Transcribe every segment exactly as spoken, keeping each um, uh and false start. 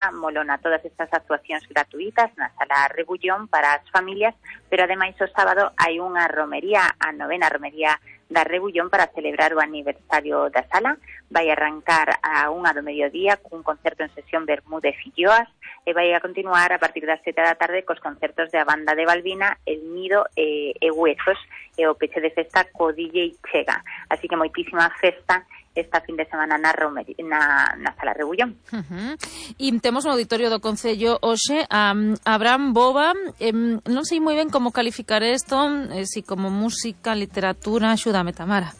Molona, todas estas actuacións gratuitas na Sala Rebullón para as familias, pero ademais o sábado hai unha romería, a novena romería da Rebullón para celebrar o aniversario da sala. Vai arrancar a unha do mediodía cun concerto en sesión Bermúdez Filloas e vai a continuar a partir das sete da tarde cos concertos da banda de Balbina, El Nido e, e Huesos, e o peche de festa co D J Chega. Así que moitísima festa esta fin de semana na, Romer, na, na Sala Rebullón. Uh-huh. E temos no auditorio do Concello hoxe a Abraham Boba. Eh, non sei moi ben como calificar isto, eh, si como música, literatura. Axúdame, Tamara.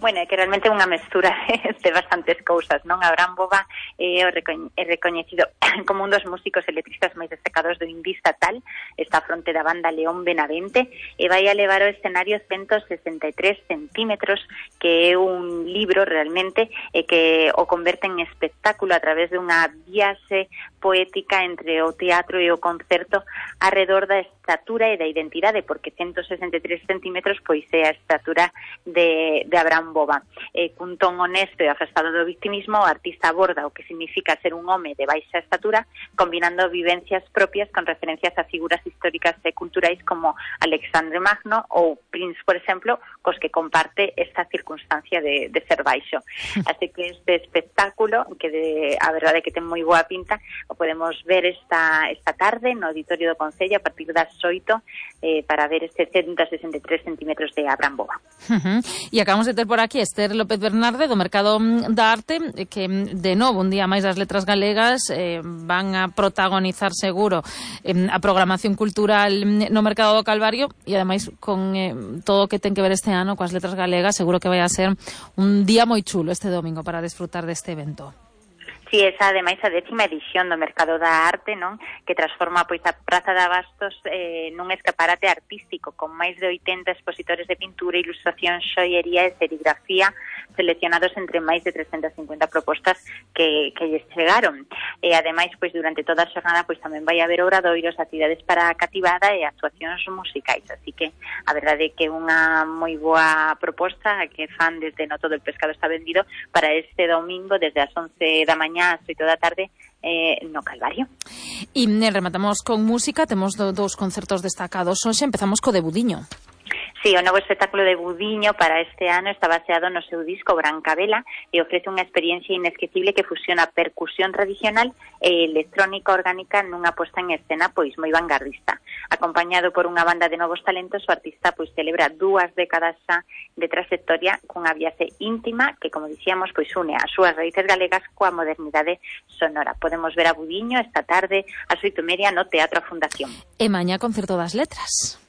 Bueno, é que realmente é unha mestura de bastantes cousas, non? Abraham Boba é, é recoñecido como un dos músicos e letristas máis destacados do indie estatal, está a fronte da banda León Benavente, e vai a levar o escenario ciento sesenta e tres centímetros, que é un libro realmente, e que o converte en espectáculo a través de unha viaxe poética entre o teatro e o concerto arredor da estatura e da identidade, porque ciento sesenta e tres centímetros pois é a estatura de, de Abraham Boba. Eh, cun ton honesto e afastado do victimismo, o artista aborda o que significa ser un home de baixa estatura, combinando vivencias propias con referencias a figuras históricas e culturais como Alexandre Magno ou Prince, por exemplo, cos que comparte esta circunstancia de, de ser baixo. Así que este espectáculo, que de, a verdade que ten moi boa pinta, o podemos ver esta, esta tarde no auditorio do Concello a partir das oito eh, para ver este ciento sesenta e tres centímetros de Abraham Boba. Uh-huh. E acabamos de ter por aquí Esther López Bernarde do Mercado da Arte, que de novo un día máis das letras galegas eh, van a protagonizar seguro eh, a programación cultural no Mercado do Calvario, e ademais con eh, todo o que ten que ver este ano coas letras galegas, seguro que vai a ser un día moi chulo este domingo para desfrutar deste evento. Si, esa ademais a décima edición do Mercado da Arte, non? Que transforma pois a Praza de Abastos eh, nun escaparate artístico con máis de oitenta expositores de pintura, ilustración, xoiería e serigrafía seleccionados entre máis de trescentas cincuenta propostas que, que lles chegaron. E ademais, pois durante toda a xornada pois tamén vai haber obradoiros, actividades para a cativada e actuacións musicais, así que a verdade é que é unha moi boa proposta que fan desde No Todo el Pescado está vendido para este domingo desde as once da mañá ás oito da tarde eh, no Calvario. E rematamos con música, temos do, dos concertos destacados hoxe, empezamos co de Budiño. Sí, o novo espectáculo de Budiño para este ano está baseado no seu disco Brancavela e ofrece unha experiencia inesquecible que fusiona percusión tradicional e electrónica orgánica nunha posta en escena pois moi vanguardista. Acompañado por unha banda de novos talentos, o artista pois celebra dúas décadas xa de trayectoria cunha viaxe íntima que, como dicíamos, pois une as súas raíces galegas coa modernidade sonora. Podemos ver a Budiño esta tarde ás oito e media no Teatro A Fundación. E mañá concerto das letras.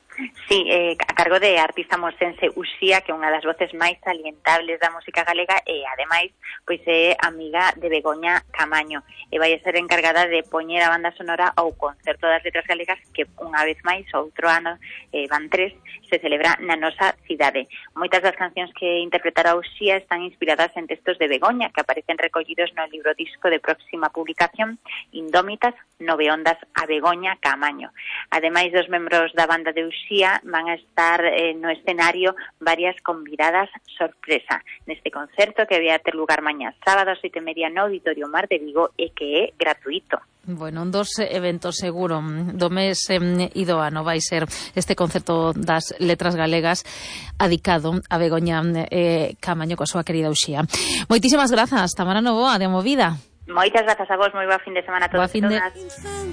Sí, eh, a cargo de artista mosense Uxía, que é unha das voces máis salientables da música galega e, ademais, pois é amiga de Begoña Camaño e vai a ser encargada de poñer a banda sonora ao concerto das letras galegas que, unha vez máis, outro ano, eh, van tres, se celebra na nosa cidade. Moitas das cancións que interpretará Uxía están inspiradas en textos de Begoña, que aparecen recollidos no libro disco de próxima publicación Indómitas, nove ondas a Begoña Camaño. Ademais dos membros da banda de Uxía, van a estar eh, no escenario varias convidadas sorpresa neste concerto que vai a ter lugar mañá sábado ás oito e media no Auditorio Mar de Vigo e que é gratuito. Bueno, un dos eventos seguro do mes eh, e do ano vai ser este concerto das letras galegas adicado a Begoña eh, Camaño coa súa querida Uxía. Moitísimas grazas, Tamara Novoa, de Movida. Moitas grazas a vos, moi boa fin de semana a todos e todas.